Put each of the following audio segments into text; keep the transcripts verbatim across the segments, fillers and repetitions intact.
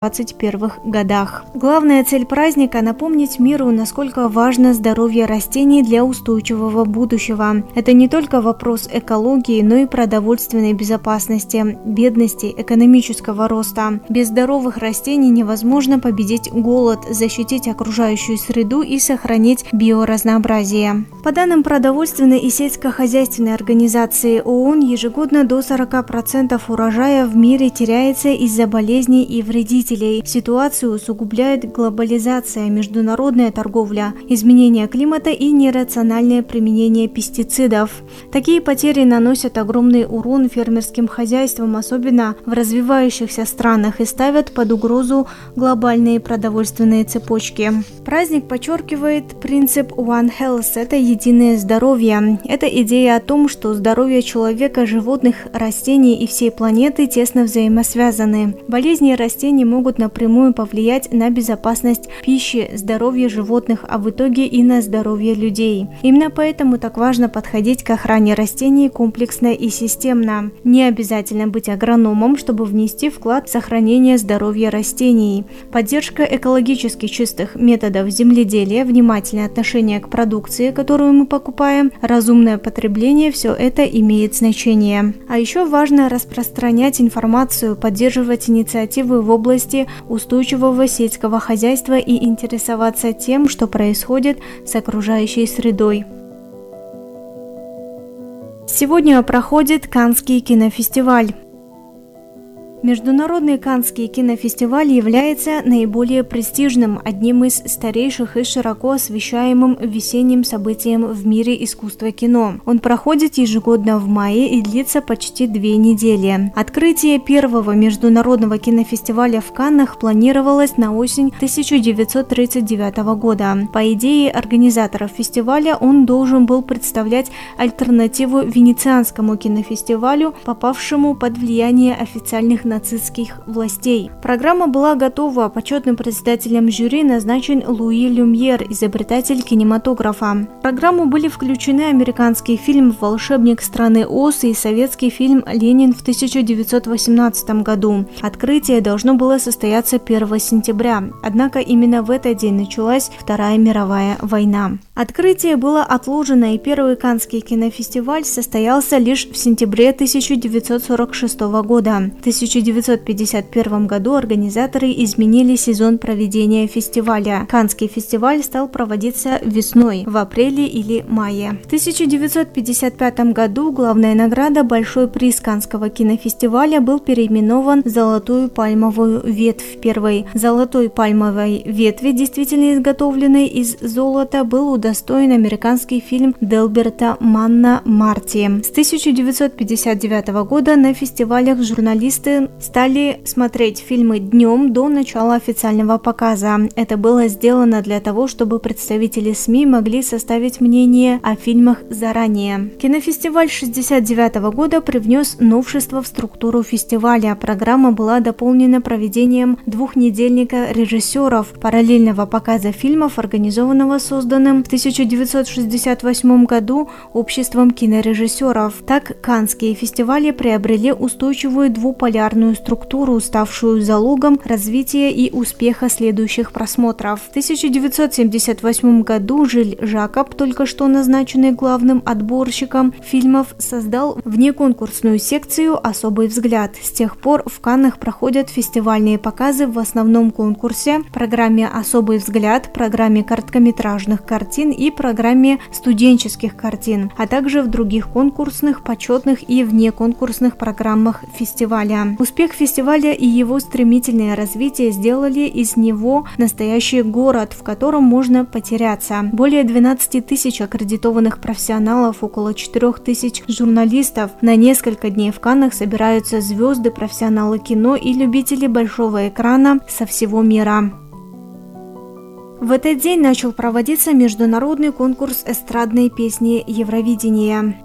двадцать первых годах. Главная цель праздника – напомнить миру, насколько важно здоровье растений для устойчивого будущего. Это не только вопрос экологии, но и продовольственной безопасности, бедности, экономического роста. Без здоровых растений невозможно победить голод, защитить окружающую среду и сохранить биоразнообразие. По данным продовольственной и сельскохозяйственной организации ООН, ежегодно до сорока процентов урожая в мире теряется из-за болезней и вредителей. Ситуацию усугубляет глобализация, международная торговля, изменение климата и нерациональное применение пестицидов. Такие потери наносят огромный урон фермерским хозяйствам, особенно в развивающихся странах, и ставят под угрозу глобальные продовольственные цепочки. Праздник подчеркивает принцип One Health – это единое здоровье. Это идея о том, что здоровье человека, животных, растений и всей планеты тесно взаимосвязаны. Болезни растений могут могут напрямую повлиять на безопасность пищи, здоровье животных, а в итоге и на здоровье людей. Именно поэтому так важно подходить к охране растений комплексно и системно. Не обязательно быть агрономом, чтобы внести вклад в сохранение здоровья растений. Поддержка экологически чистых методов земледелия, внимательное отношение к продукции, которую мы покупаем, разумное потребление – все это имеет значение. А еще важно распространять информацию, поддерживать инициативы в области устойчивого сельского хозяйства и интересоваться тем, что происходит с окружающей средой. Сегодня проходит Каннский кинофестиваль. Международный Каннский кинофестиваль является наиболее престижным, одним из старейших и широко освещаемым весенним событием в мире искусства кино. Он проходит ежегодно в мае и длится почти две недели. Открытие первого международного кинофестиваля в Каннах планировалось на осень тысяча девятьсот тридцать девятого года. По идее организаторов фестиваля, он должен был представлять альтернативу Венецианскому кинофестивалю, попавшему под влияние официальных нацистских властей. Программа была готова, почетным председателем жюри назначен Луи Люмьер, изобретатель кинематографа. В программу были включены американский фильм «Волшебник страны Оз» и советский фильм «Ленин» в тысяча девятьсот восемнадцатом году. Открытие должно было состояться первого сентября, однако именно в этот день началась Вторая мировая война. Открытие было отложено, и первый Каннский кинофестиваль состоялся лишь в сентябре тысяча девятьсот сорок шестого года. В тысяча девятьсот пятьдесят первом году организаторы изменили сезон проведения фестиваля. Каннский фестиваль стал проводиться весной, в апреле или мае. В тысяча девятьсот пятьдесят пятом году главная награда «Большой приз Каннского кинофестиваля» был переименован в «Золотую пальмовую ветвь». Первой золотой пальмовой ветви, действительно изготовленной из золота, был удостоен американский фильм Делберта Манна «Марти». С тысяча девятьсот пятьдесят девятого года на фестивалях журналисты стали смотреть фильмы днем до начала официального показа. Это было сделано для того, чтобы представители СМИ могли составить мнение о фильмах заранее. Кинофестиваль шестьдесят девятого года привнес новшество в структуру фестиваля. Программа была дополнена проведением двухнедельника режиссеров, параллельного показа фильмов, организованного созданным в тысяча девятьсот шестьдесят восьмом году Обществом кинорежиссеров. Так, каннские фестивали приобрели устойчивую двуполярную структуру, ставшую залогом развития и успеха следующих просмотров. В тысяча девятьсот семьдесят восьмом году Жиль Жакоб, только что назначенный главным отборщиком фильмов, создал внеконкурсную секцию «Особый взгляд». С тех пор в Каннах проходят фестивальные показы в основном конкурсе, программе «Особый взгляд», программе короткометражных картин и программе студенческих картин, а также в других конкурсных, почетных и внеконкурсных программах фестиваля. Успех фестиваля и его стремительное развитие сделали из него настоящий город, в котором можно потеряться. Более двенадцати тысяч аккредитованных профессионалов, около четырёх тысяч журналистов. На несколько дней в Каннах собираются звезды, профессионалы кино и любители большого экрана со всего мира. В этот день начал проводиться международный конкурс эстрадной песни Евровидения.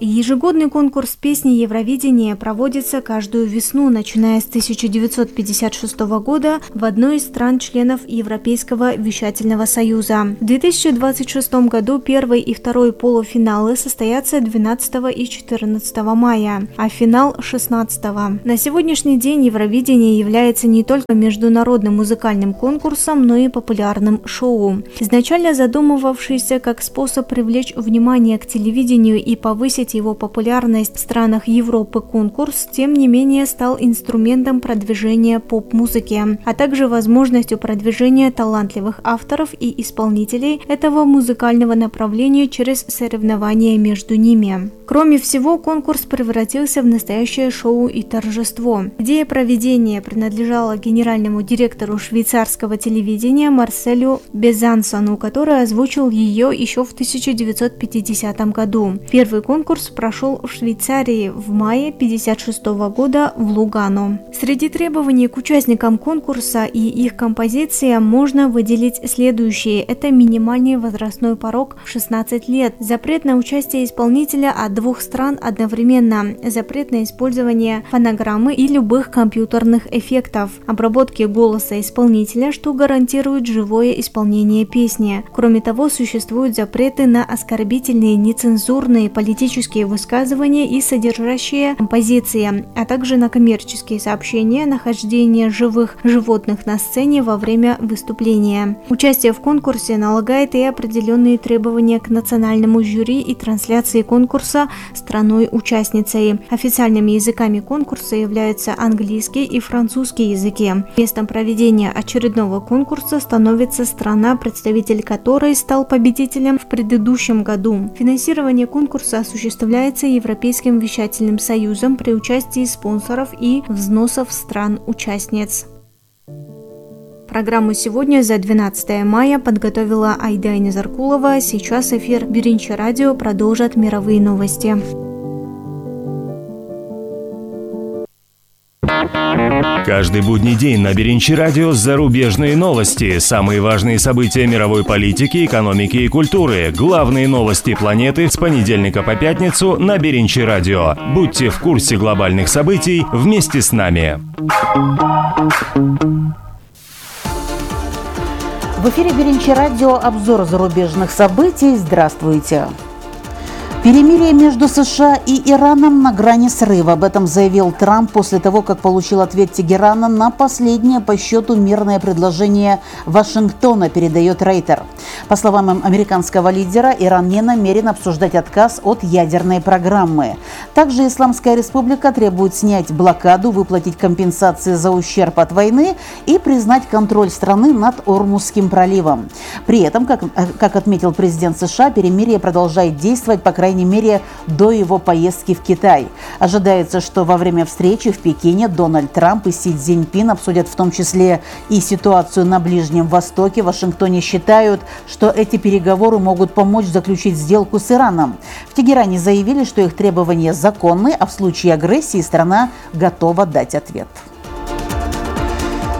Ежегодный конкурс песни Евровидения проводится каждую весну, начиная с тысяча девятьсот пятьдесят шестого года в одной из стран-членов Европейского вещательного союза. В две тысячи двадцать шестом году первый и второй полуфиналы состоятся двенадцатого и четырнадцатого мая, а финал шестнадцатого. На сегодняшний день Евровидение является не только международным музыкальным конкурсом, но и популярным шоу. Изначально задумывавшийся как способ привлечь внимание к телевидению и повысить его популярность в странах Европы конкурс, тем не менее, стал инструментом продвижения поп-музыки, а также возможностью продвижения талантливых авторов и исполнителей этого музыкального направления через соревнования между ними. Кроме всего, конкурс превратился в настоящее шоу и торжество. Идея проведения принадлежала генеральному директору швейцарского телевидения Марселю Безансону, который озвучил ее еще в тысяча девятьсот пятидесятом году. Первый конкурс прошел в Швейцарии в мае тысяча девятьсот пятьдесят шестого года в Лугано. Среди требований к участникам конкурса и их композициям можно выделить следующие. Это минимальный возрастной порог в шестнадцать лет, запрет на участие исполнителя от двух стран одновременно, запрет на использование фонограммы и любых компьютерных эффектов, обработки голоса исполнителя, что гарантирует живое исполнение песни. Кроме того, существуют запреты на оскорбительные, нецензурные, политические высказывания и содержащие композиции, а также на коммерческие сообщения, нахождение живых животных на сцене во время выступления. Участие в конкурсе налагает и определенные требования к национальному жюри и трансляции конкурса страной-участницей. Официальными языками конкурса являются английский и французский языки. Местом проведения очередного конкурса становится страна, представитель которой стал победителем в предыдущем году. Финансирование конкурса осуществляется Европейским вещательным союзом при участии спонсоров и взносов стран-участниц. Программу сегодня за двенадцатое мая подготовила Айда Незаркулова. Сейчас эфир Биринчи радио продолжат мировые новости. Каждый будний день на Биринчи радио зарубежные новости, самые важные события мировой политики, экономики и культуры, главные новости планеты с понедельника по пятницу на Биринчи радио. Будьте в курсе глобальных событий вместе с нами. В эфире Биринчи радио обзор зарубежных событий. Здравствуйте. Перемирие между США и Ираном на грани срыва. Об этом заявил Трамп после того, как получил ответ Тегерана на последнее по счету мирное предложение Вашингтона, передает Рейтер. По словам американского лидера, Иран не намерен обсуждать отказ от ядерной программы. Также Исламская республика требует снять блокаду, выплатить компенсации за ущерб от войны и признать контроль страны над Ормузским проливом. При этом, как, как отметил президент США, перемирие продолжает действовать, по крайней По крайней мере, до его поездки в Китай. Ожидается, что во время встречи в Пекине Дональд Трамп и Си Цзиньпин обсудят в том числе и ситуацию на Ближнем Востоке. В Вашингтоне считают, что эти переговоры могут помочь заключить сделку с Ираном. В Тегеране заявили, что их требования законны, а в случае агрессии страна готова дать ответ.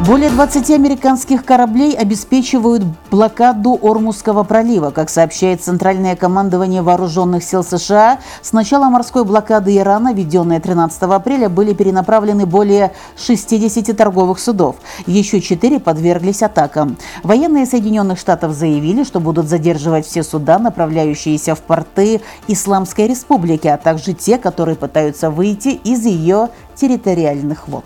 Более двадцати американских кораблей обеспечивают блокаду Ормузского пролива. Как сообщает Центральное командование Вооруженных сил США, с начала морской блокады Ирана, введенной тринадцатого апреля, были перенаправлены более шестидесяти торговых судов. Еще четыре подверглись атакам. Военные Соединенных Штатов заявили, что будут задерживать все суда, направляющиеся в порты Исламской Республики, а также те, которые пытаются выйти из ее территориальных вод.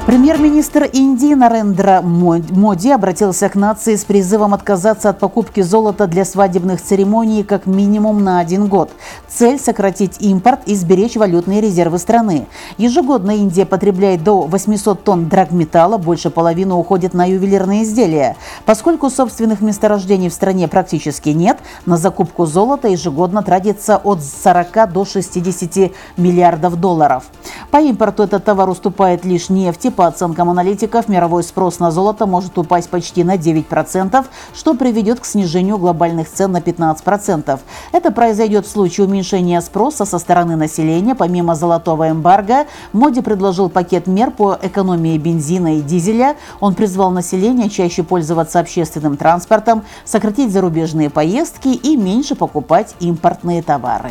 Премьер-министр Индии Нарендра Моди обратился к нации с призывом отказаться от покупки золота для свадебных церемоний как минимум на один год. Цель – сократить импорт и сберечь валютные резервы страны. Ежегодно Индия потребляет до восьмисот тонн драгметалла, больше половины уходит на ювелирные изделия. Поскольку собственных месторождений в стране практически нет, на закупку золота ежегодно тратится от сорока до шестидесяти миллиардов долларов. По импорту этот товар уступает лишь нефти, По оценкам аналитиков, мировой спрос на золото может упасть почти на девять процентов, что приведет к снижению глобальных цен на пятнадцать процентов. Это произойдет в случае уменьшения спроса со стороны населения. Помимо золотого эмбарго, Моди предложил пакет мер по экономии бензина и дизеля. Он призвал население чаще пользоваться общественным транспортом, сократить зарубежные поездки и меньше покупать импортные товары.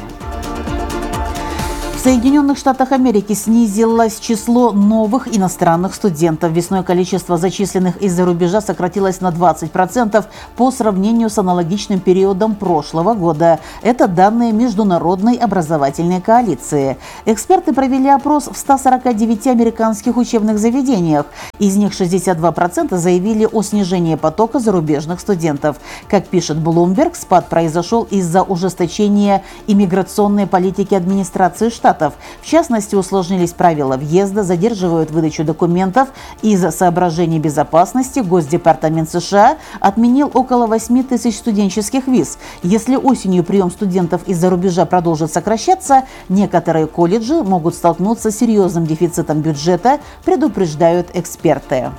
В Соединенных Штатах Америки снизилось число новых иностранных студентов. Весной количество зачисленных из-за рубежа сократилось на двадцать процентов по сравнению с аналогичным периодом прошлого года. Это данные Международной образовательной коалиции. Эксперты провели опрос в ста сорока девяти американских учебных заведениях. Из них шестьдесят два процента заявили о снижении потока зарубежных студентов. Как пишет Bloomberg, спад произошел из-за ужесточения иммиграционной политики администрации штата. В частности, усложнились правила въезда, задерживают выдачу документов. Из-за соображений безопасности Госдепартамент США отменил около восьми тысяч студенческих виз. Если осенью прием студентов из-за рубежа продолжит сокращаться, некоторые колледжи могут столкнуться с серьезным дефицитом бюджета, предупреждают эксперты.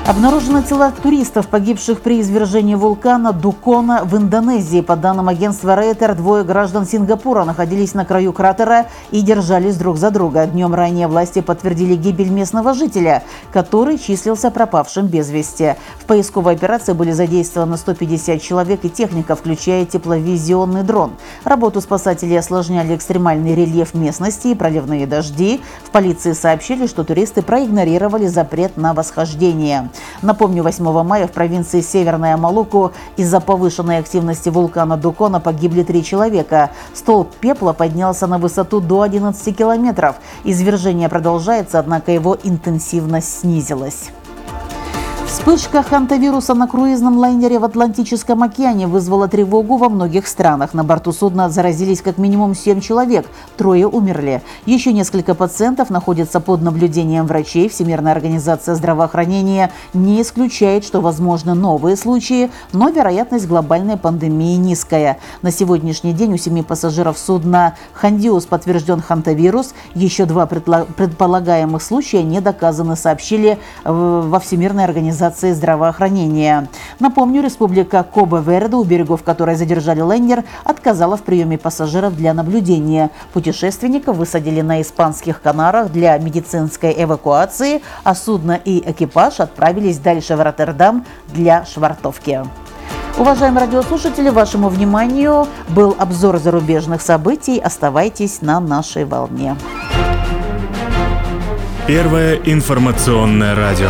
Обнаружены тела туристов, погибших при извержении вулкана Дукона в Индонезии. По данным агентства Рейтер, двое граждан Сингапура находились на краю кратера и держались друг за друга. Днем ранее власти подтвердили гибель местного жителя, который числился пропавшим без вести. В поисковой операции были задействованы сто пятьдесят человек и техника, включая тепловизионный дрон. Работу спасателей осложняли экстремальный рельеф местности и проливные дожди. В полиции сообщили, что туристы проигнорировали запрет на восхождение. Напомню, восьмого мая в провинции Северная Малуку из-за повышенной активности вулкана Дукона погибли три человека. Столб пепла поднялся на высоту до одиннадцати километров. Извержение продолжается, однако его интенсивность снизилась. Вспышка хантавируса на круизном лайнере в Атлантическом океане вызвала тревогу во многих странах. На борту судна заразились как минимум семь человек, трое умерли. Еще несколько пациентов находятся под наблюдением врачей. Всемирная организация здравоохранения не исключает, что возможны новые случаи, но вероятность глобальной пандемии низкая. На сегодняшний день у семи пассажиров судна «Хандиус» подтвержден хантавирус. Еще два предполагаемых случая не доказаны, сообщили во Всемирной организации здравоохранения. Напомню, республика Кабо-Верде, у берегов которой задержали лайнер, отказала в приеме пассажиров для наблюдения. Путешественников высадили на испанских Канарах для медицинской эвакуации, а судно и экипаж отправились дальше в Роттердам для швартовки. Уважаемые радиослушатели, вашему вниманию был обзор зарубежных событий. Оставайтесь на нашей волне. Первое информационное радио.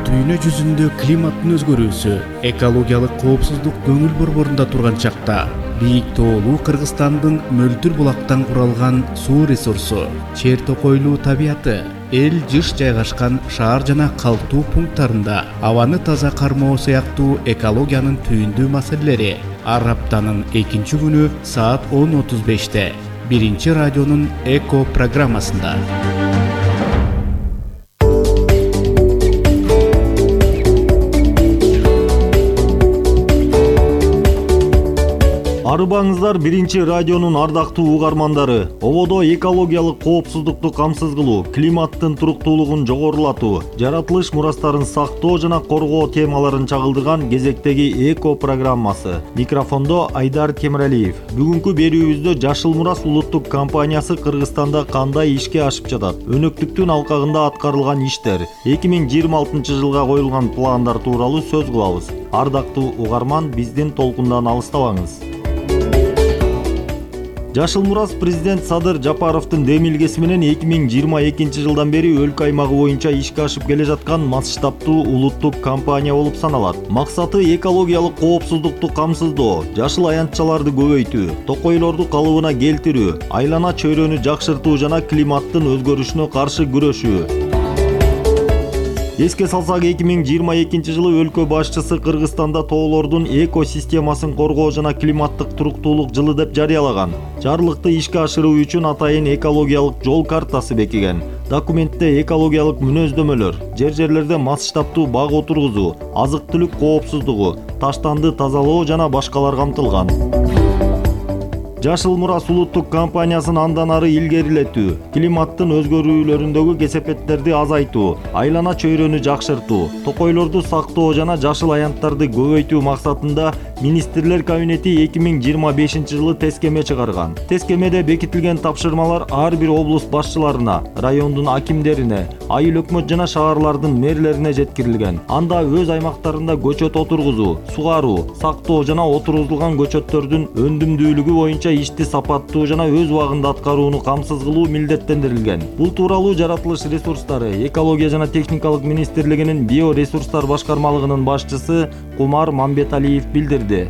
Дүйнө жүзүндө климаттын өзгөрүүсү, экологиялык коопсуздук көңүл борборунда турган чакта бийик тоолуу Кыргызстандын мөлтүр булактан куралган суу ресурсу, чер токойлуу табияты, эл жыш жайгашкан шаар жана калктуу пункттарында абаны таза кармоо сыяктуу экологиянын түйүндүү маселелери ар аптанын экинчи күнү саат он отуз беште биринчи радионун эко программасында. Арыбаңыздар, биринчи радионун ардактуу угармандары. Ободо экологиялык коопсуздукту камсыз кылуу, климаттын туруктуулугун жогорулатуу, жаратылыш мурастарын сактоо жана коргоо темаларын чагылдырган кезектеги эко программасы. Микрофондо Айдар Темиралиев. Бүгүнкү берүүбүздө Жашыл Мурас улуттук компаниясы Кыргызстанда кандай ишке ашып жатат? Өнөктүктүн алкагында аткарылган иштер, эки миң жыйырма алтынчы жылга коюлган пландар тууралуу сөз кылабыз. Ардактуу угарман, биздин толкундан алыстабаңыз. Жашыл Мурас президент Садыр Жапаровдун демилгеси менен эки миң жыйырма экинчи жылдан бери өлкө аймагы боюнча ишке ашып келе жаткан масштабтуу улуттук компания болуп саналат. Максаты экологиялык коопсуздукту камсыздоо, жашыл аянтчаларды көбөйтүү, токойлорду калыбына келтирүү, айлана чөйрөнү жакшыртуу жана климаттын өзгөрүшүнө каршы күрөшүү. Эске салсак, эки миң жыйырма экинчи жылы өлкө башчысы Кыргызстанда тоолордун экосистемасын коргоо жана климаттык туруктуулук жылы деп жарыялаган. Жарлыкты ишке ашыруу үчүн атайын экологиялык жол картасы бекиген. Документте экологиялык мүнөздөмөлөр, жер-жерлерде масштабтуу бак отургузуу, азык-түлүк коопсуздугу, таштанды тазалоо жана башкалар камтылган. Жашыл Мурас улуттук компаниясын андан ары илгерилетүү, климаттын өзгөрүүлөрүндөгү кесепеттерди азайтуу, айлана чөйрөнү жакшыртуу, токойлорду сактоо жана жашыл аянттарды көбөйтүү максатында Министрлер кабинети эки миң жыйырма бешинчи жылы тескеме чыгарган. Тескемеде бекитилген тапшырмалар ар бир облус башчыларына, райондун акимдерине, айыл өкмөт жана шаарлардын мэрлерине жеткирилген. Анда өз аймактарында көчөт отургузуу, сугаруу, сактоо жана отургузулган көчөттөрдүн өндүмдүүлүгү боюнча ишти сапаттуу жана өз убагында аткарууну камсыз кылуу милдеттендирилген. Бул тууралуу Жаратылыш ресурстары, экология жана техникалык министрлигинин биоресурстар башкармалыгынын башчысы Кумар Мамбеталиев билдирди.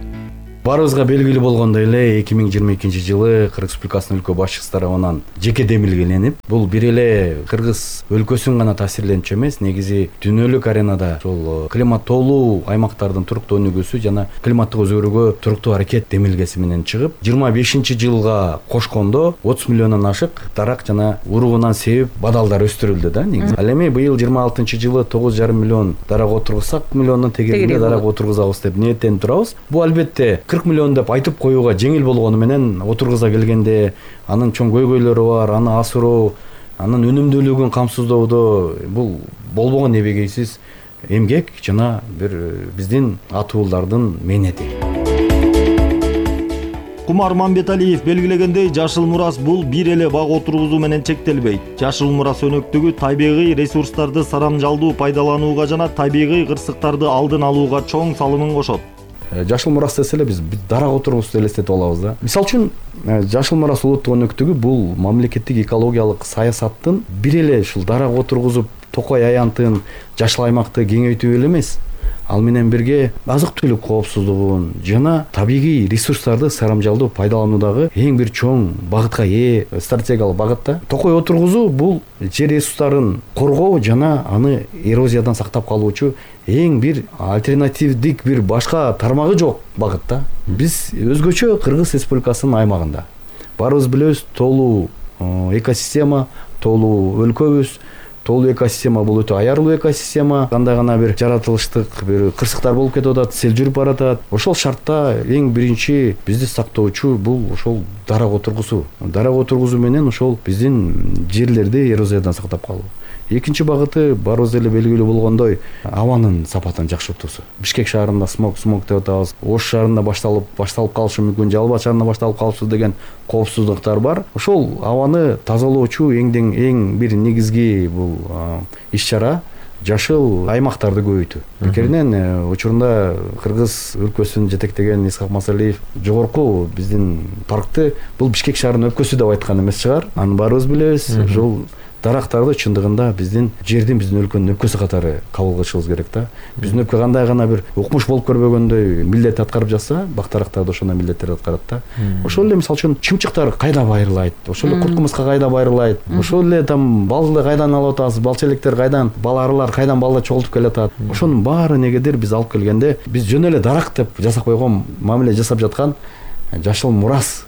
Баарыбызга белгилүү болгондой эле эки миң жыйырма экинчи жылы Кыргыз Республикасынын өлкө башчысы тарабынан жеке демилгеленип, бул бир эле Кыргыз өлкөсүн гана таасирленчү эмес, негизи дүйнөлүк аренада ошол климаттолуу аймактардын туруктуу өнүгүүсү жана климаттык өзгөрүүгө туруктуу аракет демилгеси менен чыгып, жыйырма бешинчи жылга кошкондо отуз миллиондон ашык дарак жана уругунан себеп бадалдар өстүрүлдү да негизи. Ал эми быйыл жыйырма алтынчы жылы тогуз жарым миллион дарак отургузсак, миллиондун тегерегинде дарак отургузабыз деп ниеттенип турабыз. Бул албетте кырк миллион деп айтып коюуга жеңил болгону менен отургуза келгенде анын чоң көйгөйлөрү бар, аны асыруу, анын өнүмдүүлүгүн камсыздоодо бул болбогон эбегейсиз эмгек жана бир биздин ата уулдардын мээнети. Кумар Мамбеталиев белгилегендей, Жашыл Мурас бул бир эле бак отургузуу менен чектелбейт. Жашыл Мурас өнөктүгү табигый ресурстарды сарамжалдуу пайдаланууга жана табигый кырсыктарды алдын алууга чоң салымын кошот. Жашыл Мурас десе эле биз дарак отургузуп элестетип алабыз да. Мисалы үчүн Жашыл Мурас улуттук өнөктүгү бул мамлекеттик экологиялык саясаттын бир эле ушул дарак отургузуп токой аянтын, жашыл аймакты кеңейтүү эле эмес, ал менен бирге азык-түлүк коопсуздугун жана табигый ресурстарды сарамжалдуу пайдалануудагы эң бир чоң багытка ээ стратегиялык багытта. Токой отургузуу бул жер ресурстарын коргоо жана аны эрозиядан сактап калуучу эң бир альтернативдик бир башка тармагы жок багытта. Биз өзгөчө Кыргыз Республикасынын аймагында баарыбыз билебиз, тоолуу экосистема, тоолуу өлкөбүз. Тоолуу экосистема бул өтө аярлуу экосистема. Кандай гана бир жаратылыштык бир кырсыктар болуп кетип атат, сел жүрүп баратат. Ошол шартта эң биринчи бизди сактоочу бул ошол дарак отургузуу. Дарак отургузуу менен ошол биздин жерлерди эрозиядан сактап калуу. Экинчи багыты баарыбыз эле белгилүү болгондой абанын сапатын жакшыртуусу. Бишкек шаарында смог смог деп атабыз. Ош шаарында башталып башталып калышы мүмкүн, Жалал Абад шаарында башталып калышы деген коопсуздуктар бар. Ошол абаны тазалоочу эңден эң бир негизги бул иш-чара жашыл аймактарды көбөйтүү. Бекеринен учурунда Кыргыз өлкөсүн жетектеген Исхак Масалиев жогорку биздин паркты бул Бишкек шаарынын өпкөсү деп айткан эмес чыгар. Аны баарыбыз билебиз. Ошол дарактарды чындыгында биздин жердин, биздин өлкөнүн өпкөсү катары кабыл кылышыбыз керек да. Биздин өпкө кандай гана бир укмуш болуп көрбөгөндөй милдет аткарып жатса, бак дарактарды ошондой милдеттерди аткарат да. Ошол эле мисалы үчүн чымчыктар кайда байрылайт, ошол эле курт кумурска кайда байрылайт, ошол эле там балды кайдан алып атабыз, бал челектер кайдан, бал арылар кайдан балды чогултуп келатат. Ошонун баары негедир биз алып келгенде биз жөн эле дарак деп жасап койгон мамиле жасап жаткан Жашыл Мурас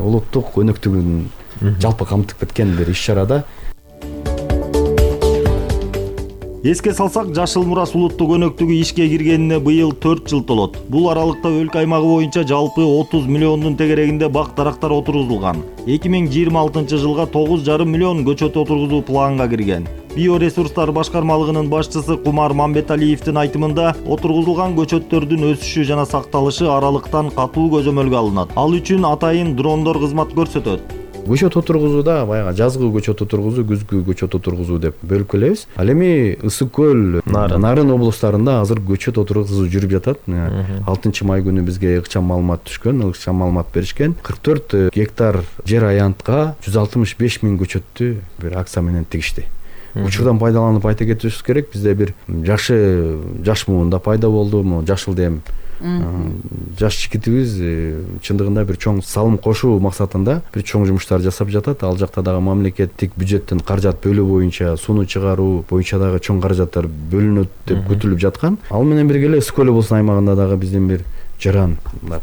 улуттук өнөктүгүн жалпы камтып кеткен бир иш-чарада. Эске салсак, Жашыл Мурас улуттук өнөктүгү ишке киргенине быйыл төрт жыл толот. Бул аралыкта өлкө аймагы боюнча жалпы отуз миллиондун тегерегинде бак дарактар отургузулган. эки миң жыйырма алтынчы жылга тогуз жарым миллион көчөт отургузуу планга кирген. Биоресурстар башкармалыгынын башчысы Кумар Мамбеталиевдин айтымында, отургузулган көчөттөрдүн өсүшү жана сакталышы аралыктан катуу көзөмөлгө алынат. Ал үчүн атайын дрондор кызмат көрсөтөт. Көчөт отургузууда баягы жазгы көчөт отургузуу, күзгү көчөт отургузуу деп бөлүп келебиз. Ал эми Ысык көл, Нарын облустарында азыр көчөт отургузуу жүрүп жатат. алтынчы май күнү бизге ыкчам маалымат түшкөн, ыкчам маалымат беришкен. кырк төрт гектар жер аянтка жүз алтымыш беш миң көчөттү бир акция менен тигишти. Учурдан пайдаланып айта кетишибиз керек, бизде бир жакшы жаш муунда пайда болду, жашыл дем. Жаш жигитибиз чындыгында бир чоң салым кошуу максатында бир чоң жумуштар жасап жатат. Ал жакта дагы мамлекеттик бюджеттен каражат бөлүү боюнча, сууну чыгаруу боюнча дагы чоң каражаттар бөлүнөт деп күтүлүп жаткан. Ал менен бирге эле Ысык көл облусунун аймагында дагы биздин бир жаран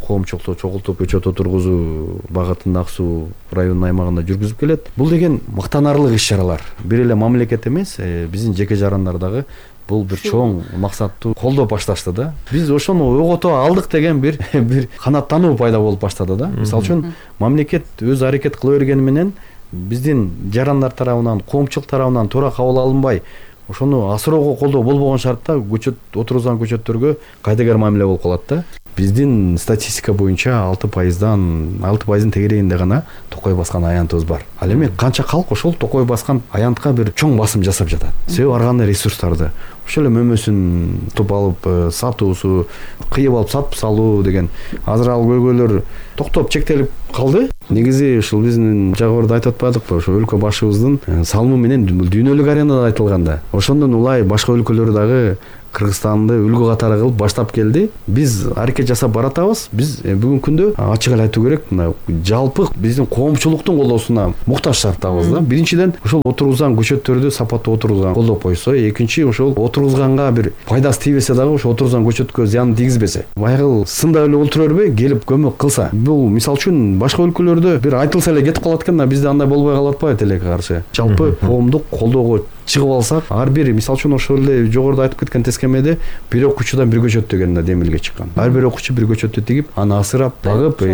коомчулукту чогултуп көчөт отургузуу багытында Ак Суу районунун аймагында жүргүзүп келет. Бул деген мактанарлык иш-чаралар. Бир эле мамлекет эмес, биздин жеке жарандар дагы бул бир чоң максаттуу колдоп башташты да. Биз ошону ойгото алдык деген бир бир канааттануу пайда болуп баштады да. Мисалы үчүн мамлекет өз аракет кыла бергени менен биздин жарандар тарабынан, коомчулук тарабынан туура кабыл алынбай, ошону асыроого колдоо болбогон шартта көчөт отургузган көчөттөргө кайдыгер мамиле болуп калат да. Биздин статистика боюнча алты пайыздан алты пайыздын тегерегинде гана токой баскан аянтыбыз бар. Ал эми канча калк ошол токой баскан аянтка бир чоң басым жасап жатат. Себеби ар кандай ресурстарды ошол эле мөмөсүн туп алып сатуусу, кыйып алып сатып салуу деген азыр ал көйгөйлөр токтоп чектелип калды. Негизи ушул биздин жогоруда айтып атпадыкпы, ошо өлкө башыбыздын салымы менен дүйнөлүк аренада айтылганда ошондон улай башка өлкөлөр дагы Кыргызстанды үлгү катары кылып баштап келди. Биз аракет жасап баратабыз. Биз бүгүнкү күндө ачык эле айтуу керек, мына жалпы биздин коомчулуктун колдоосуна муктаж шарттабыз да. Биринчиден ошол отургузган көчөттөрдү сапаттуу отургузган колдоп койсо, экинчи ошол отургузганга бир пайдасы тийбесе дагы ошол отургузган көчөткө зыян тийгизбесе. Баягы сында эле отура бербей, келип көмөк кылса. Бул мисалы үчүн башка өлкөлөрдө бир айтылса эле кетип калат экен да, бизде андай болбой калып атпайбы тилекке каршы. Жалпы коомдук колдоого чыгып алсак, ар бир мисалы үчүн ошол эле жогоруда айтып кеткен тескемеде бир окуучудан бир көчөт деген да демилге чыккан. Ар бир окуучу бир көчөттү тигип, аны асырап, багып,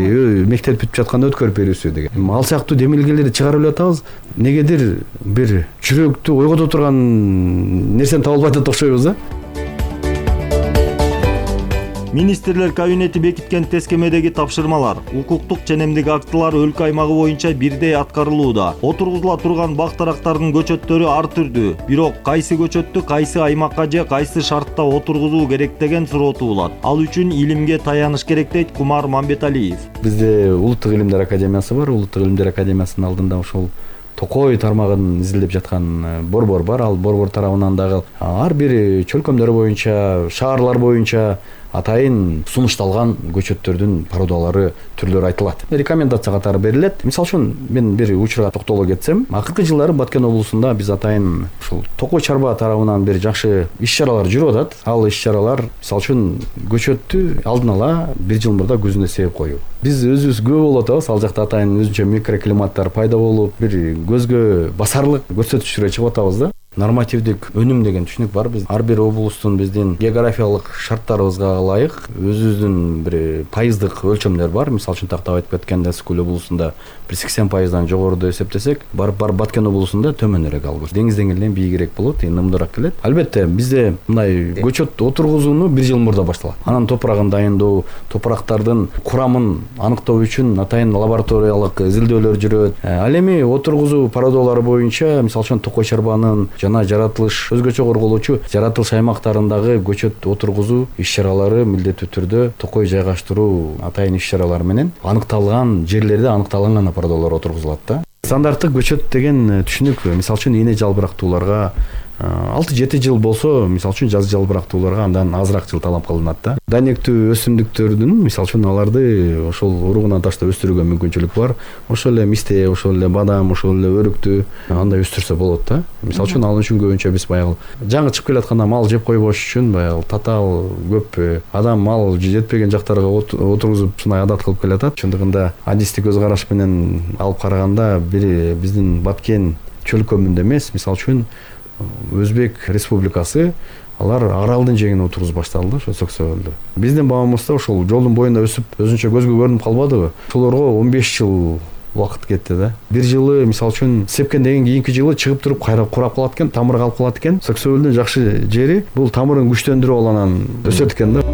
мектеп бүтүп жатканда өткөрүп берүүсү деген. Ал сыяктуу демилгелерди чыгарып эле атабыз. Негедир бир жүрөктү ойгото турган нерсени таба албай атат окшойбуз да. Министрлер кабинети бекиткен тескемедеги тапшырмалар, укуктук ченемдик актылар өлкө аймагы боюнча бирдей аткарылууда. Отургузула турган бак-тарактардын көчөттөрү ар түрдүү. Бирок кайсы көчөттү кайсы аймакка же кайсы шартта отургузуу керек деген суроо туулат. Ал үчүн илимге таяныш керек дейт Кумар Мамбеталиев. Бизде Улуттук илимдер академиясы бар. Улуттук илимдер академиясынын алдында ошол токой тармагын изилдеп жаткан борбор бар. Ал борбор тарабынан дагы ар бир чөлкөмдөр боюнча, шаарлар боюнча атайын сунушталган көчөттөрдүн породалары, түрлөрү айтылат. Рекомендация катары берилет. Мисалы үчүн мен бир учурга токтоло кетсем, акыркы жылдары Баткен облусунда биз атайын ушул токой чарба тарабынан бир жакшы иш-чаралар жүрүп атат. Ал иш-чаралар мисалы үчүн көчөттү алдын ала бир жыл мурда көзүнө себеп коюу. Биз өзүбүз күбө болуп атабыз. Ал жакта атайын өзүнчө микроклиматтар пайда болуп, бир көзгө басарлык көрсөтүчтөргө чыгып атабыз да. Нормативдик өнүм деген түшүнүк бар. Биз ар бир облустун биздин географиялык шарттарыбызга ылайык өзүбүздүн бир пайыздык өлчөмдөр бар. Мисалы үчүн тактап айтып кеткенде Скөл облусунда бир сексен пайыздан жогоруда эсептесек, барып барып Баткен облусунда төмөнүрөөк алып, деңиз деңгээлинен бийигирээк болот, нымдыраак келет. Албетте бизде мындай көчөт отургузууну бир жыл мурда башталат. Анан топурагын дайындоо, топурактардын курамын аныктоо үчүн атайын лабораториялык изилдөөлөр жүрөт. Ал эми отургузуу породалары боюнча мисалы үчүн токой чарбанын жана жаратылыш өзгөчө корголоочу жаратылыш аймактарындагы көчөт отургузуу иш-чаралары милдеттүү түрдө токой жайгаштыруу атайын иш-чаралары менен аныкталган жерлерде аныкталган породалар отургузулат да. Стандарттык көчөт деген түшүнүк мисалы үчүн эне жалбырактууларга алты жети жыл болсо, мисалы үчүн жаз жалбырактууларга андан азыраак жыл талап кылынат да. Дайнектүү өсүмдүктөрдүн мисалы үчүн аларды ошол уругунан ташта өстүрүүгө мүмкүнчүлүк бар. Ошол эле мисте, ошол эле бадам, ошол эле өрүктү андай өстүрсө болот да. Мисалы үчүн ал үчүн көбүнчө биз баягы жаңы чыгып келатканда мал жеп койбош үчүн баягы татаал көп адам мал жетпеген жактарга отургузуп ушундай адат кылып келатат. Чындыгында адистик көз караш менен алып караганда бир биздин Баткен чөлкөмүндө эмес, мисалы үчүн Өзбек республикасы алар аралдын жеңине отургузуп башталды, ошо Сөксөөлдө. Биздин бабамызда ошол жолдун боюнда өсүп, өзүнчө көзгө көрүнүп калбадыбы? Ошолорго он беш жыл убакыт кетти да. Бир жылы мисалы үчүн сепкенден кийинки жылы чыгып туруп кайра курап калат экен, тамыры калып калат экен. Сөксөөлдүн жакшы жери бул тамырын күчтөндүрүп алганан өсөт экен да.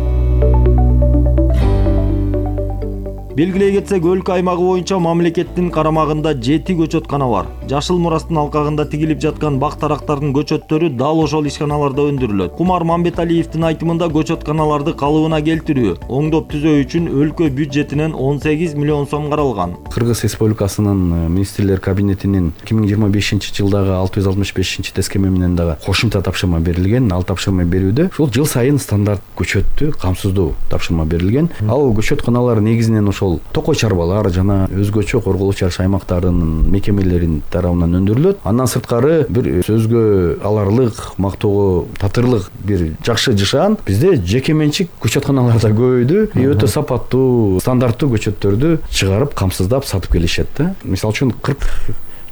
Белгилей кетсек, өлкө аймагы боюнча мамлекеттин карамагында жети көчөткана бар. Жашыл мурастын алкагында тигилип жаткан бак-тарактардын көчөттөрү дал ошол ишканаларда өндүрүлөт. Кумар Мамбеталиевдин айтымында көчөтканаларды калыбына келтирүү, оңдоп түзөө үчүн өлкө бюджетинен он сегиз миллион сом каралган. Кыргыз Республикасынын министрлер кабинетинин эки миң жыйырма бешинчи жылдагы алты жүз алтымыш бешинчи тескеме менен дагы кошумча тапшырма берилген. Ал тапшырма берүүдө ушул жыл сайын стандарт көчөттү камсыздоо тапшырма берилген. Ал көчөтканалар негизинен ошол токой чарбалар жана өзгөчө корголуп жаш аймактардын мекемелерин тарабынан өндүрүлөт. Андан сырткары бир сөзгө аларлык, мактоого татырлык бир жакшы жашаан бизде жеке менчик көчөтканалар да көбөйдү. И өтө сапаттуу, стандарттуу көчөттөрдү чыгарып, камсыздап сатып келишет да. Мисалы үчүн кырк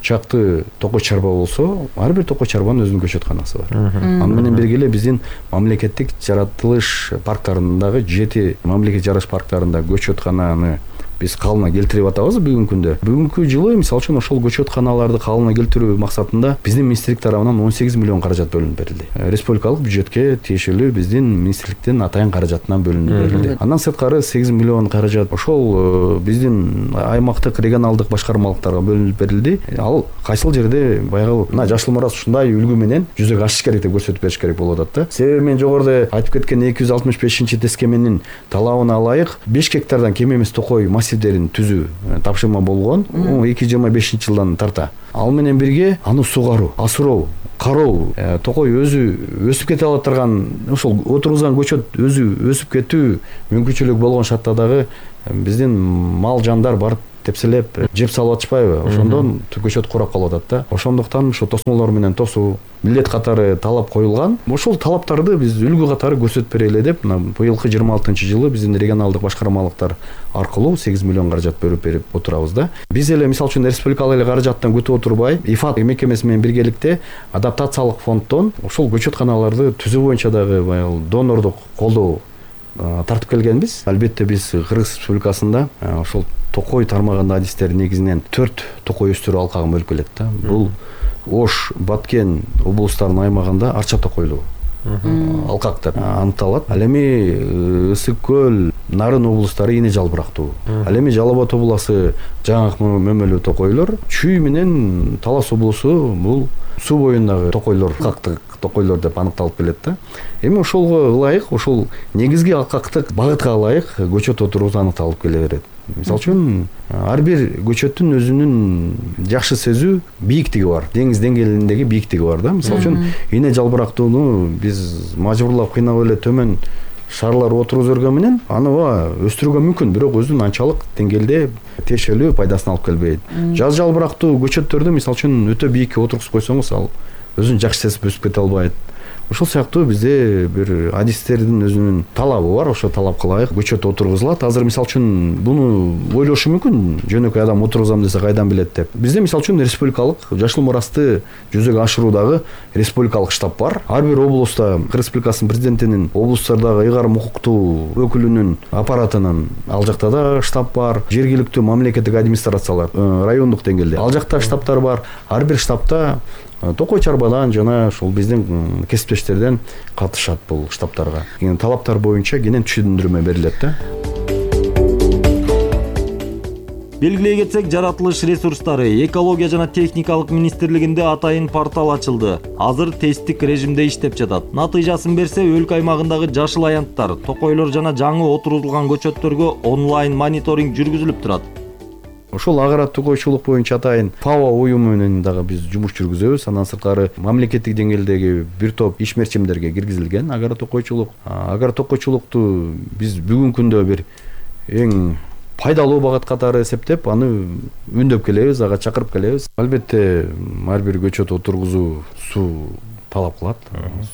чакты токой чарба болсо, ар бир токой чарбанын өзүнүн көчөтканасы бар. Аны менен бирге эле биздин мамлекеттик жаратылыш парктарындагы жети мамлекеттик жаратылыш парктарында көчөткананы биз калыбына келтирип атабыз бүгүнкү күндө. Бүгүнкү жылы мисалы үчүн ошол көчөтканаларды калыбына келтирүү максатында биздин министрлик тарабынан он сегиз миллион каражат бөлүнүп берилди. Республикалык бюджетке тиешелүү биздин министрликтин атайын каражатынан бөлүнүп берилди. Андан сырткары сегиз миллион каражат ошол биздин аймактык регионалдык башкармалыктарга бөлүнүп берилди. Ал кайсыл жерде баягы мына Жашыл Мурас ушундай үлгү менен жүзөгө ашыш керек деп көрсөтүп бериш керек болуп атат да. Себеби мен жогоруда айтып кеткен эки жүз алтымыш бешинчи тескеменин талабына ылайык беш гектардан кем эмес токой массивдерин түзүү тапшырма болгон эки жүз жыйырма бешинчи жылдан тарта. Ал менен бирге аны сугаруу, асыроо, кароо, токой өзү өсүп кете ала турган, ошол отургузган көчөт өзү өсүп кетүү мүмкүнчүлүгү болгон шартта дагы биздин мал жандар барып тепселеп жеп салып атышпайбы? Ошондон көчөт курап калып атат да. Ошондуктан ошо тосмолор менен тосуу милдет катары талап коюлган. Ошол талаптарды биз үлгү катары көрсөтүп берели деп, мына быйылкы жыйырма алтынчы жылы биздин регионалдык башкармалыктар аркылуу сегиз миллион каражат бөлүп берип отурабыз да. Биз эле мисалы үчүн республикалык эле каражаттан күтүп отурбай, ИФАД мекемеси менен биргеликте адаптациялык фонддон ошол көчөтканаларды түзүү боюнча дагы баягы донордук колдоо тартып келгенбиз. Албетте биз Кыргыз Республикасында ошол токой тармагында адистер негизинен төрт токой өстүрүү алкагын бөлүп келет да. Бул Ош, Баткен облустарынын аймагында арча токойлуу алкактар аныкталат. Ал эми Ысык көл, Нарын облустары ине жалбырактуу. Ал эми Жалал Абад областы жаңак мөмөлүү токойлор, Чүй менен Талас облусу бул суу боюндагы токойлор, алкактык токойлор деп аныкталып келет да. Эми ошолго ылайык, ошол негизги алкактык багытка ылайык көчөт отургузуу аныкталып келе берет. Мисалы үчүн ар бир көчөттүн өзүнүн жакшы сезүү бийиктиги бар, деңиз деңгээлиндеги бийиктиги бар да. Мисалы үчүн ине жалбырактууну биз мажбурлап кыйнап эле төмөн шарлар отургузуп берген менен аны өстүрүүгө мүмкүн, бирок өзүнүн анчалык деңгээлде тиешелүү пайдасын алып келбейт. Жаз жалбырактуу көчөттөрдү мисалы үчүн өтө бийикке отургузуп койсоңуз, ал өзүн жакшы сезип өсүп кете албайт. Ошол сыяктуу бизде бир адистердин өзүнүн талабы бар, ошо талапка ылайык көчөт отургузулат. Азыр мисалы үчүн буну ойлошу мүмкүн, жөнөкөй адам отургузам десе кайдан билет деп. Бизде мисалы үчүн республикалык Жашыл Мурасты жүзөгө ашыруудагы республикалык штаб бар. Ар бир облуста Кыргыз Республикасынын президентинин облустардагы ыйгарым укуктуу өкүлүнүн аппаратынын ал жакта да штаб бар. Жергиликтүү мамлекеттик администрациялар райондук деңгээлде ал жакта штабтар бар. Ар бир штабта токой чарбадан жана ошол биздин кесиптештерден катышат бул штабтарга. Талаптар боюнча кенен түшүндүрмө берилет да. Белгилей кетсек, жаратылыш ресурстары экология жана техникалык министрлигинде атайын портал ачылды. Азыр тесттик режимде иштеп жатат. Натыйжасын берсе, өлкө аймагындагы жашыл аянттар, токойлор жана жаңы отурулган көчөттөргө онлайн мониторинг жүргүзүлүп турат. Ошол агара токойчулук боюнча атайын ФАО уюму менен дагы биз жумуш жүргүзөбүз. Андан сырткары мамлекеттик деңгээлдеги бир топ ишмерчимдерге киргизилген агара токойчулук. Агара токойчулукту биз бүгүнкү күндө бир эң пайдалуу багыт катары эсептеп, аны үндөп келебиз, ага чакырып келебиз. Албетте ар бир көчөт отургузуу суу талап кылат,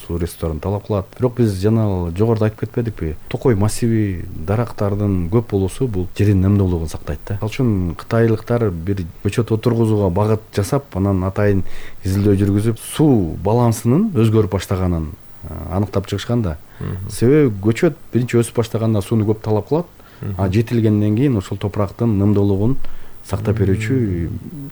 суу ресурстарын талап кылат. Бирок биз жана жогоруда айтып кетпедикпи? Токой массиви дарактардын көп болуусу бул жердин немдүүлүгүн сактайт да. Ал үчүн кытайлыктар бир көчөт отургузууга багыт жасап, анан атайын изилдөө жүргүзүп, суу балансынын өзгөрүп баштаганын аныктап чыгышкан да. Себеби көчөт биринчи өсүп баштаганда сууну көп талап кылат, а жетилгенден кийин ошол топурактын немдүүлүгүн сактап берүүчү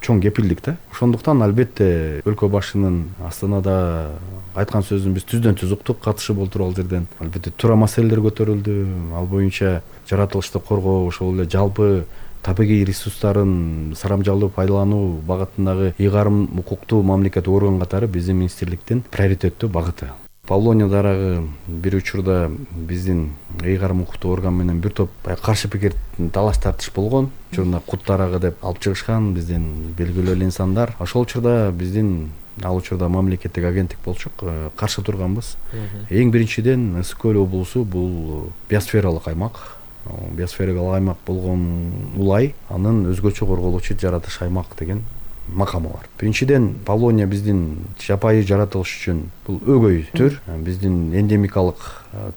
чоң кепилдик да. Ошондуктан албетте өлкө башчынын Астанада айткан сөзүн биз түздөн түз уктук, катышып отуруп ал жерден. Албетте туура маселелер көтөрүлдү. Ал боюнча жаратылышты коргоо, ошол эле жалпы табигый ресурстарын сарамжалуу пайдалануу багытындагы ыйгарым укуктуу мамлекеттик орган катары биздин министрликтин приоритеттүү багыты. Полониядарагы бир учурда биздин ыйгарым укуктуу орган менен бир топ каршы пикир талаш тартыш болгон. Учурда кут дарагы деп алып чыгышкан биздин белгилүү эле инсандар. Ошол учурда биздин ал учурда мамлекеттик агенттик болчук, каршы турганбыз. Эң биринчиден Ысык көл облусу бул биосфералык аймак. Биосфералык аймак болгон улай анын өзгөчө корголуучу жаратылыш аймак деген макамы бар. Биринчиден, Полония биздин жапайы жаратылыш үчүн бул өгөй түр. Биздин эндемикалык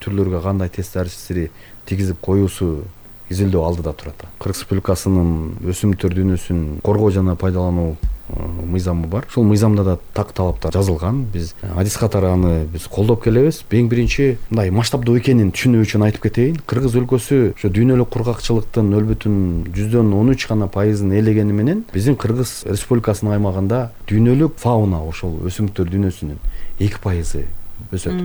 түрлөргө кандай таасир тийгизип коюусу изилдөө алдыда турат. Кыргыз Республикасынын өсүмдүктөр дүйнөсүн коргоо жана пайдалануу мыйзамы бар. Ушул мыйзамда да так талаптар жазылган. Биз адис катары аны биз колдоп келебиз. Эң биринчи мындай масштабдуу экенин түшүнүү үчүн айтып кетейин. Кыргыз өлкөсү ошо дүйнөлүк кургакчылыктын нөл бүтүн жүздөн он үч гана пайызын ээлегени менен биздин Кыргыз Республикасынын аймагында дүйнөлүк фауна, ошол өсүмдүктөр дүйнөсүнүн эки пайызы өсөт.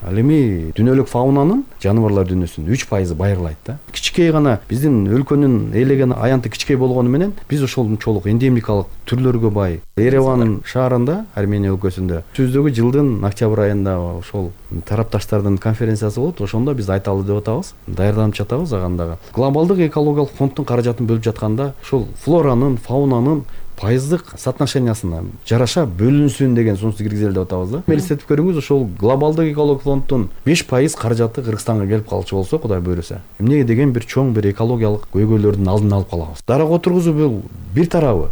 Ал эми дүйнөлүк фаунанын, жаныбарлар дүйнөсүнүн үч пайызы байырылайт да. Кичикей гана биздин өлкөнүн ээлеген аянты кичикей болгону менен биз ошолчолук эндемикалык түрлөргө бай. Ереван шаарында, Армения өлкөсүндө түздөгү жылдын октябрь айында ошол тарапташтардын конференциясы болот. Ошондо биз айталы деп атабыз, даярданып жатабыз агандагы. Глобалдык экологиялык фонддун каражатын бөлүп жатканда ошол флоранын, фаунанын пайыздык соотношениясына жараша бөлүнсүн деген сунушту киргизели деп атабыз да. Элестетип көрүңүз, ошол глобалдык экологиялык фонддун беш пайыз каражаты Кыргызстанга келип калчу болсо, Кудай буйруса, эмнеге деген бир чоң бир экологиялык көйгөйлөрдүн алдын алып калабыз. Дарак отургузуу бул бир тарабы.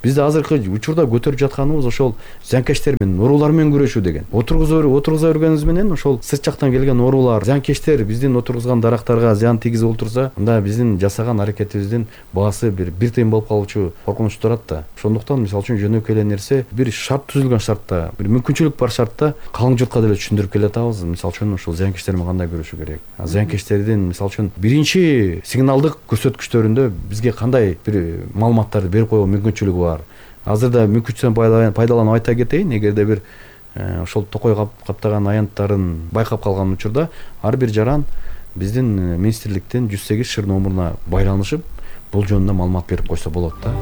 Бизде азыркы учурда көтөрүп жатканыбыз ошол зыянкечтер менен, оорулар менен күрөшүү деген. Отургуза отургуза өргөнүбүз менен ошол сырт жактан келген оорулар, зыянкечтер биздин отургузган дарактарга зыян тийгизип отурса, анда биздин жасаган аракетибиздин баасы бир бир тыйын болуп калуучу коркунуч турат да. Ошондуктан мисалы үчүн жөнөкөй эле нерсе, бир шарт түзүлгөн шартта, бир мүмкүнчүлүк бар шартта калың журтка деле түшүндүрүп келатабыз. Мисалы үчүн ошол зыянкечтер менен кандай күрөшүү керек. Зыянкечтердин мисалы үчүн биринчи сигналдык көрсөткүчтөрүндө бизге кандай бир маалыматтарды берип коюу мүмкүнчүлүгү бар. Азырда мүмкүнчүлүктөн пайдаланып айта кетейин, эгерде бир ошол токой каптаган аянттарын байкап калган учурда ар бир жаран биздин министрликтин жүз сегиз шыр номуруна байланышып, бул жөнүндө маалымат берип койсо болот да.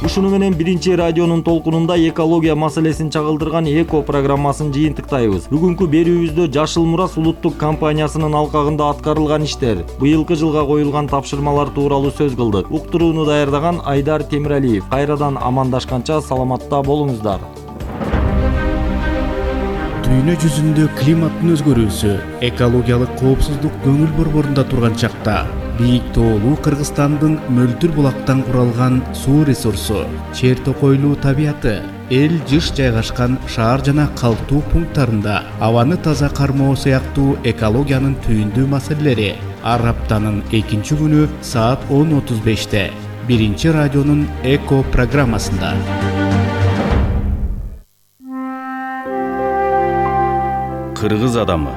Ушуну менен биринчи радионун толкунунда экология маселесин чагылдырган эко программасын жыйынтыктайбыз. Бүгүнкү берүүбүздө Жашыл Мурас улуттук компаниясынын алкагында аткарылган иштер, быйылкы жылга коюлган тапшырмалар тууралуу сөз кылдык. Уктурууну даярдаган Айдар Темиралиев. Кайрадан амандашканча саламатта болуңуздар. Дүйнө жүзүндө климаттын өзгөрүүсү, экологиялык коопсуздук көңүл борборунда турган чакта бийик тоолуу Кыргызстандын мөлтүр булактан куралган суу ресурсу, чер токойлуу табияты, эл жыш жайгашкан шаар жана калктуу пункттарында абаны таза кармоо сыяктуу экологиянын түйүндүү маселелери ар аптанын экинчи күнү саат он отуз беште биринчи радионун эко программасында. Кыргыз адамы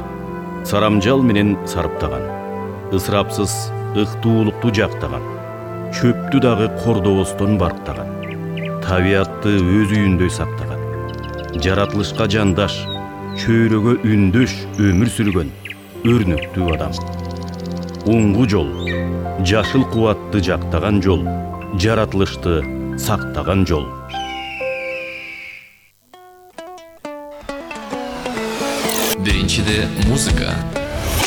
сарамжал менен сарыптаган, ысырапсыз ыктуулукту жактаган, чөптү дагы кордобостон барктаган, табиятты өз үйүндөй сактаган, жаратылышка жандаш, чөйрөгө үндөш өмүр сүргөн өрнөктүү адам. Оңгу жол, жашыл кубатты жактаган жол, жаратылышты сактаган жол. Биринчиде музыка,